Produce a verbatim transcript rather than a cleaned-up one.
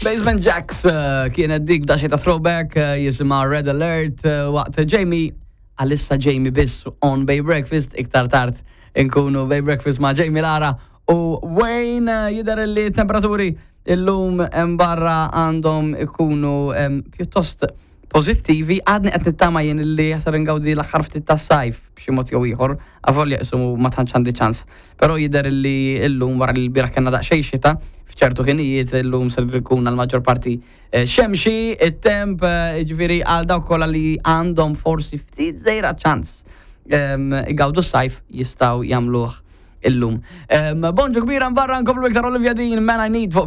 Basement Jaxx uh, kienet dik daxi ta' throwback uh, jisimha Red Alert uh, waqt Jamie, għalissa Jamie biss on Bay Breakfast, iktar tard inkunu Bay Breakfast ma' Jamie, Lara u Wayne. uh, jidher li temperaturi illum hemm barra għandhom ikunu em, pjuttost pozittivi. Għadni qed nittama jien li jasar ngawdi l-aħħar ftit tas-sajf b'xi mod jew ieħor, avolja isumu ma tantx għandi ċans. Però jidher li illum, wara li l-bieraħ kellna daqsxejn xita f'ċertu ħinijiet, illum ser ikun għal maġġor parti eh, xemxi, it-temp, eh, ġifieri għal dawk kollha li għandhom forsi ftit żejra ċans em, igawdu s-sajf jistgħu jagħmluh illum. Em, Bonġu kbira barra, nkomplu iktar Olivia Dean, Man I Need fuq